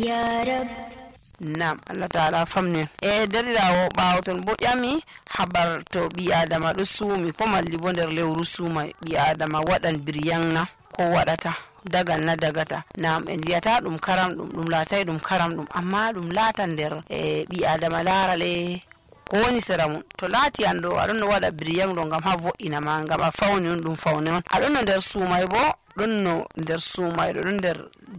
ya rab. Nam Allah ta'ala famnen derɗirawo ɓawo ton bo ƴami habar to ɓi adama ɗo suumi ko malli bo nder lewru suuma ɓi adama waɗan biryanna ko waɗata dagan na dagata. Nam en wiyata ɗum karam ɗum laatay ɗum karam ɗum amma ɗum laatan nder ɓi adama larale ko woni sera mum. To laati an ɗo aɗon no waɗa biryan ɗo ngam ha vo'ina ma, ngam a fawni on ɗum fawne on. Aɗon no nder suumay bo ɗon no nder suumayɗo ɗon nder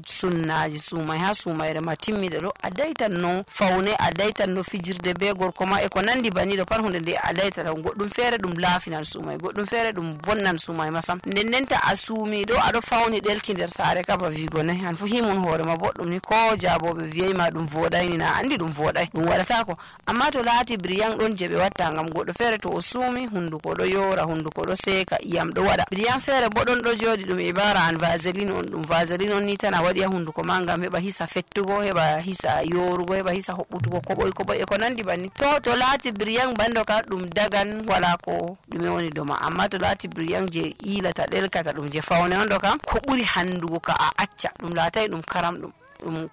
sunnaji suumay ha suumayre ma timmiɗe ɗo a daytan no fawne, a daytan no fijirde be gorko ma e ko nandi baniɗo pat hunde nde a daytata. Goɗɗum feere ɗum laafinan suumay, goɗɗum feere ɗum vonnan suumay masam. Ndenta a suumi ɗo aɗo fawni ɗelki nder saare kaba wigo nayi an fu himun hoore ma boɗɗum ni ko jaaboɓe wiyay ma ɗum voɗayni na andi ɗum voɗay, ɗum waɗatako. Amma to laati biryan ɗon je ɓe watta ngam goɗɗo feere to o suumi hunduko ɗo yoora, hunduko ɗo seeka, iyam ɗo waɗa. Biryan feere bo ɗon ɗo jooɗi ɗum ibara an vaseline on, ɗum vaseline on ni tan a waɗi ha hunduko ma ngam heɓa hisa fettugo, heɓa hisa yorugo, heɓa hisa hoɓɓutugo koɓoy e ko nandi banni. To laati biryan bando ka ɗum dagan wala ko ɗume woni doma. Amma to laati biryan je ilata ɗelkata ɗum je fawne on ɗo kam ko ɓuri handugo ka a acca, ɗum laatay ɗum karam ɗum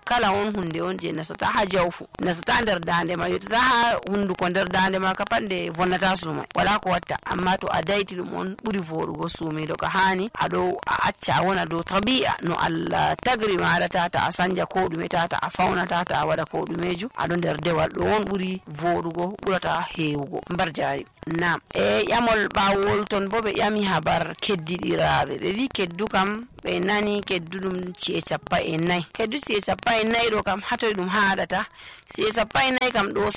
kala on hunde on je nasata ha jawfu, nasata nder dande ma, yottata ha hunduko nder dande ma ka pat nde vonnata suumay wala ko watta. Amma to a dayti ɗum on ɓuri voɗugo suumiɗo ka hani aɗo a acca a wona dow tabi'a no Allah tagri maɗa, tata a sanja ko ɗume, tata a fawna, tata a waɗa ko ɗumeju, aɗo nder dewal ɗo on ɓuri voɗugo, ɓurata hewugo mbar jari. Nam ƴamol ɓawol ton bo ɓe ƴami habar keddiɗiraɓe, ɓe wi keddu kam ɓe nani keddu ɗum ci'e 40, keddu ci'e 40 ɗo kam hatoy ɗum haɗata. ci'e 40 kam ɗo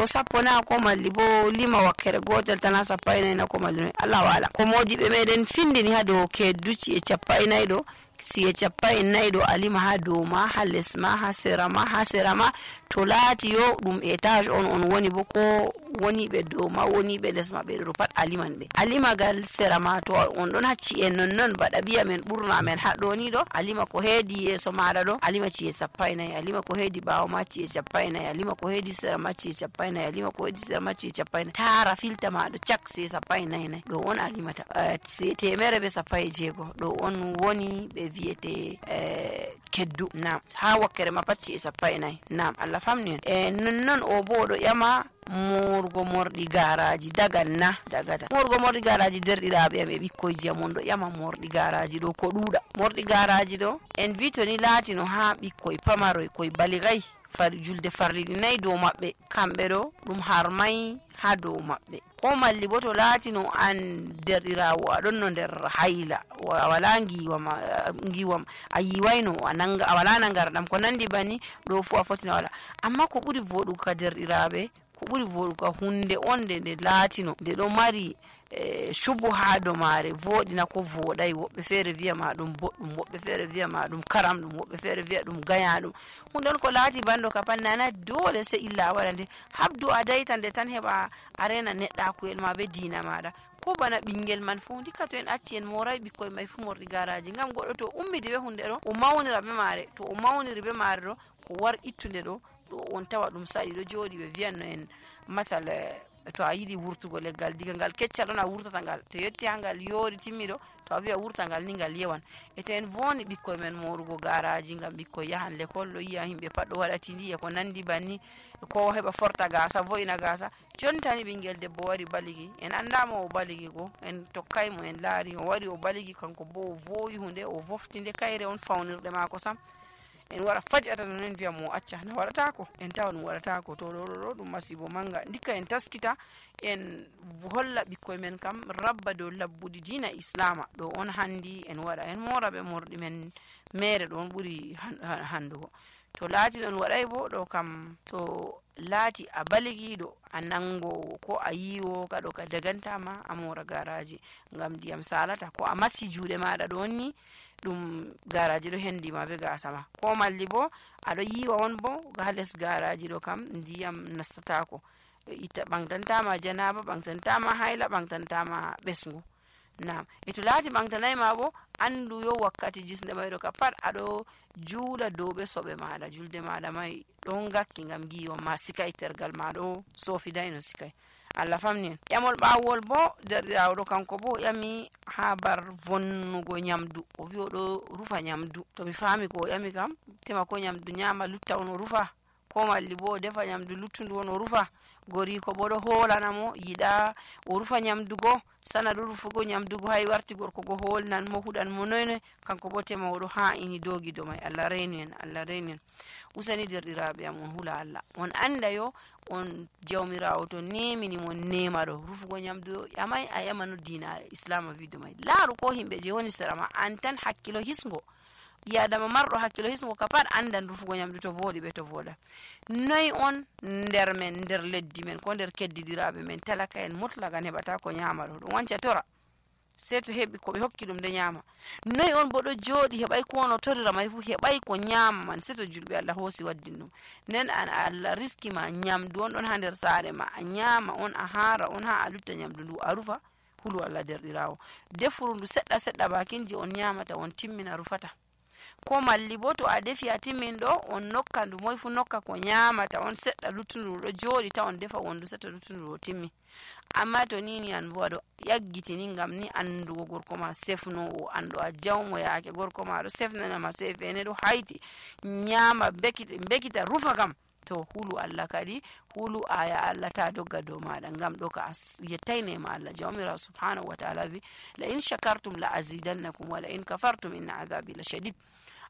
sappo na ko malli bo lima wakkere gotel tan ha 40 na ko malli no Allah wala. Ko modiɓe meɗen findini ha dow keddu ci'e 40 ɗo, ci'e 40 ɗo alima ha dow ma, ha les ma, ha sera ma, to laati yo ɗum étage on woni bo ko woni ɓe dow ma, woni ɓe les ma, ɓe ɗo pat aliman ɓe. Alimagal sera ma to on ɗon ha ci'e non baɗa biya men ɓurna men ha ɗo ni ɗo, alima ko heedi yeso maɗa ɗo alima ci'e 40, alima ko heedi ɓawo ma ci'e 40, alima ko heedi sera ma ci'e 40, alima ko heedi sera ma ci'e 40, tara filta ma ɗo cak ci'e 40 ɗo on alimata. ci'e 160 ɗo on woni ɓe wiyete keddu. Nam ha wakkere ma pat ci'e 40. Nam Allah famni en non o bo ɗo ƴama morgo morɗi garaji dagan na dagata. Morgo morɗi garaji derɗiraɓe am e ɓikkoyji am on ɗo ƴama morɗi garaji ɗo ko ɗuuɗa. Morɗi garaji ɗo en wi to ni laatino ha ɓikkoy pamaroy koy baligay julde farliɗi 4 dow maɓɓe, kamɓe ɗo ɗum harmay ha dow maɓɓe. Ko malli bo to laatino an derɗirawo aɗon no nder hayla, a wala giwam a yiwayno a wala nangarɗam ko nandi bani, ɗo fu a fotina wala. Amma ko ɓuri voɗugo ka derɗiraɓe, ko ɓuri voɗugo ka hunde on nde laatino nde ɗo mari shubu ha do mare voɗina ko voɗay. Woɓɓe feere wiya ma ɗum boɗɗum, woɓɓe feere wiya ma ɗum karam ɗum, woɓɓe feere wiya ɗum gaya ɗum. hunde on ko laati bando ka pat nana dole sai illa a waɗa nde. Habdu a dayta nde tan heɓa a rena neɗɗakuyel ma be diina maɗa. Ko bana ɓingel man fu ndikka to en acci en moray ɓikkoy may fu morɗi garaji, ngam goɗɗo to ummidi be hunde ɗo o mawnira be mare, to o mawniri be mare ɗo ko war ittude ɗo on tawa ɗum saɗi ɗo jooɗi. Ɓe wiyanno en masal to a yiɗi wurtugo leggal diga ngal keccal ɗon a wurtata ngal, to yetti ha ngal yoori timmiɗo to a wiya wurta ngal ni ngal yewan. E to en voni ɓikkoy men morugo garaji ngam ɓikkoy yahan l'école, ɗo yiya himɓe pat ɗo waɗa tindi e ko nandi banni, ko heɓa forta gasa vo'ina gasa. jontani ɓingel debbo wari baligi, en andamo o baligi go, en tokkaymo en laari o wari o baligi kanko bo o vowi hunde o vofti nde kayre on fawnirde mako sam. En wara fajata non en wiya mo acca na waɗatako, en tawa ɗum waɗatako. To ɗo ɗum masibo manga. Ndikka en taskita en holla ɓikkoy men kam rabba dow labbudi diina islama ɗo on handi en waɗa, en mora ɓe morɗi men mere ɗo on ɓuri handugo. To laati ɗon waɗay bo ɗo kam to laati a baligiɗo a nangowo ko a yiwo kaɗo ka dagantama a mora garaji ngam ndiyam salata, ko a masi juuɗe maɗa ɗo ni ɗum garaji ɗo hendima be gasa ma, ko malli bo aɗo yiwa on bo ha les garaji ɗo kam ndiyam nastatako, itta ɓantantama janaba, ɓantantama hayla, ɓantantama ɓesgu. Nam to laati ɓantanay ma bo andu yo wakkati jisnde mayɗo ka pat aɗo juula dow ɓe soɓe maɗa, julde maɗa mai ɗon gakki ngam giwa ma sikay tergal ma ɗo sofidayno sikay. Allah famni en. Ƴamol ɓawol bo derɗirawo ɗo kanko bo ƴami habar vonnugo nyamdu, o wi oɗo rufa nyamdu. To mi fami ko o ƴami kam tema ko nyamdu nyama lutta on o rufa, ko malli bo o defa nyamdu luttundu on o rufa. Goriko bo ɗo holanamo yiɗa o rufa nyamdugo, sana ɗo rufugo nyamdugo hay warti gorko go holnan mo huɗan mo noyne, kanko bo tema oɗo ha'ini dogido mai. Allah renu en, Allah renu en. Useni derɗiraɓe am on hula Allah, on anda yo on jawmirawo to nemini mon nema ɗo rufugo nyamdu ƴamai a ƴamano dina islam wido mai. Laaru ko himɓe je woni sera ma, an tan hakkilo hisgo, yadama marɗo hakkilo hisgo ka pat andan rufugo nyamdu to voɗi ɓe to voɗa. Noyi on nder men, nder leddi men ko nder keddidiraɓe men talaka en mutlagan heɓata ko nyama ɗo, ɗum wanca tora sei to heɓi ko ɓe hokki ɗum de nyama. Noyi on bo ɗo joɗi heɓai ko no torira mai fu, heɓai ko nyama man sei to julɓe Allah hosi waddin ɗum. Nden an Allah riski ma nyamdu on ɗon ha nder sare ma, a nyama on, a hara on, ha a lutta nyamdu ndu a rufa. Hulu Allah derɗirawo, defuru ndu seɗɗa seɗɗa bakinji on nyamata on timmina rufata. Ko malli bo to a defi a timmin ɗo on nokka ndu, moy fu nokka ko nyamata on seɗɗa luttundu ɗo joɗi ta on defa wondu seɗɗa luttundu ɗo timmi. Amma to nini an bo aɗo yaggitini ngam ni andugo gorko ma sefnowo, andu a jawmo yaake gorko ma ɗo sefnanama sefene ɗo hayti nyama bekita rufa kam, to hulu Allah kadi, hulu aya Allah ta dogga dow maɗa, ngam ɗo ka yettai nema Allah. Jawmirawo subhanahu wa ta'ala wi la in shakartum la azidannakum wa la in kafartum inna azabi la shadid.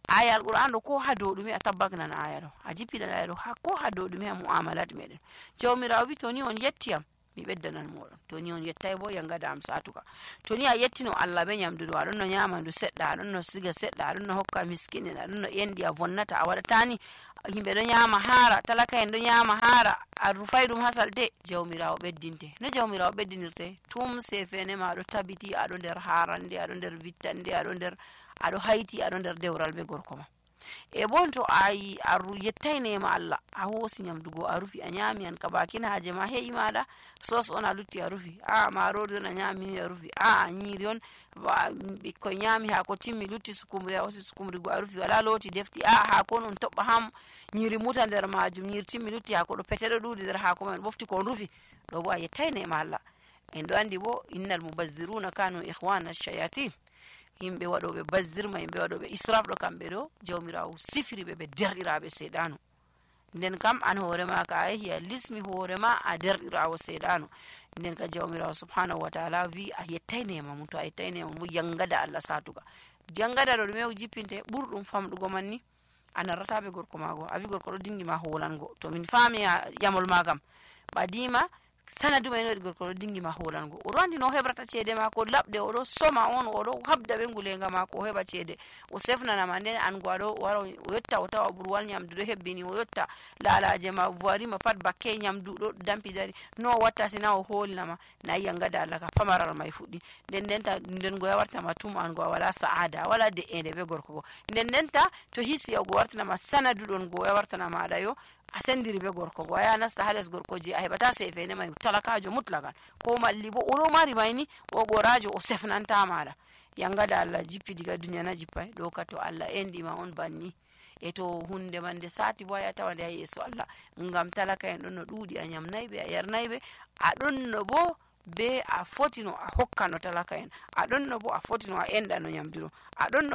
Aya alquran ɗo ko ha dow ɗume a tabbaknan aya ɗo, a jippiɗan aya ɗo ha ko ha dow ɗume ha mu'amalat meɗen. Jawmirawo wi to ni on yettiyam mi beddanan moɗon, to ni on yettai bo yangada am satuka. To ni a yettino Allah be nyamdu ɗo, aɗon no nyama ndu seɗɗa, aɗon no siga seɗɗa, aɗon no hokka miskinen, aɗon no endi a vonnata, a waɗatani himɓe ɗo nyama hara, talaka en ɗo nyama hara, a rufai ɗum ha salte. Jawmirawo beddinte, no jawmirawo beddinirte? Tum sefene ma aɗo tabiti aɗo nder harande, aɗo nder vittande, aɗo hayti, aɗo nder dewral be gorko ma. E bon to ayi a yettai nema Allah, a hosi nyamdugo a rufi, a nyami an ka bakin haje ma he'i maɗa, sos on a lutti a rufi, a marori on a nyamini a rufi, a nyiri on ɓikkoi nyami hako timmi lutti sukumri a hosi sukumri go a rufi, wala loti defti, a hako on toɓɓa ham nyiri muta nder majum, nyiri timmi lutti hako ɗo pete ɗo ɗuɗi nder hako man ɓofti kon rufi, ɗo bo a yettai nema Allah. En ɗo andi bo innal mubazziruna kanu ikhwana shayatin, yimɓe waɗoɓe bazzirma, yimɓe waɗoɓe israf ɗo kamɓe ɗo jawmirawo sifiri ɓe derɗiraɓe seɗano. Nden kam an hoorema ka a yehi a lismi hoorema a derɗirawo seɗano. Nden ka jawmirawo subhanahu wa ta'ala wi a yettai nema mum, to a yettai nema mum yangada Allah satuga. Yangada ɗo ɗume jippinte ɓurɗum famɗugo man ni a narrataɓe gorko mago, a wi gorko ɗo dingi ma holango, to min fami ƴamol ma kam ɓadima sanadu mai no gorko ɗo dingi ma holango, oɗo andi no hebrata cede mako labɗe, oɗo soma on, oɗo habda ɓe ngulenga mako o heɓa cede o sefnanama. Nden an go aɗo wara o yotta o tawa ɓurwal nyamdu ɗo hebbini, o yotta lalaje ma voirima pat bakke nyamdu ɗo dampi dari, no o watta sina o holinama, nayi yangada Allah ka pamaral mai fuɗɗi. Nden go yawartama tum an go a wala sa'ada, a wala de'ende be gorko go. Nden to hisi o go wartanama sanadu ɗon go yawartanama aɗa yo a sendiri be gorko go, a yaha nasta ha les gorkoji a heɓata sefene mai, talakajo mutlagan, ko malli bo oɗo mari mayni o gorajo o sefnanta maɗa. Yangada Allah jippi diga duniya na jippai ɗo ka to Allah endima on banni. E to hunde man nde sati bo a tawa nde ha yeso Allah, ngam talaka en ɗon no ɗuuɗi, a nyamnayɓe a yarnayɓe, aɗon no bo be a fotino a hokkano talaka en, aɗon no bo a fotino a enɗano nyamduɗo, aɗon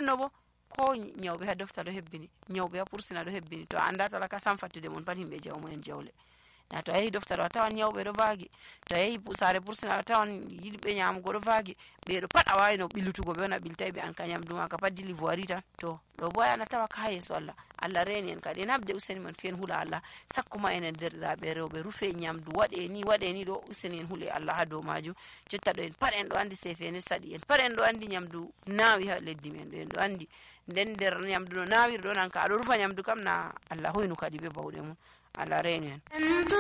no bo ko nyawɓe ha dofta ɗo hebbini, nyawɓe ha pursina ɗo hebbini, to a anda talaka sam fattude mon pat himɓe jawmo en jawle. Na to a yehi dofta ɗo a tawan nyawɓe ɗo vaagi, to a yehi sare pursina a tawan yiɗɓe nyamugo ɗo vaagi, ɓeɗo pat a wawi no ɓillutugo ɓe on a ɓiltai ɓe an ka nyamdu ma ka pat dili voiri tan. To ɗo bo ana tawa ka ha yeso Allah. Allah reni en kadi en habde useni man fiyen hula Allah, sakkuma enen derɗiraɓe rewɓe rufe nyamdu waɗe ni ɗo useni en hule Allah ha dow maju. Jotta ɗo en pat en ɗo andi sefene saɗi, en pat en ɗo andi nyamdu nawi ha leddi men ɗo en ɗo andi. Nden nder nyamdu no nawiri ɗo nan ka aɗo rufa nyamdu kam na Allah hoynu kadi be bawɗe mum. Allah reni en.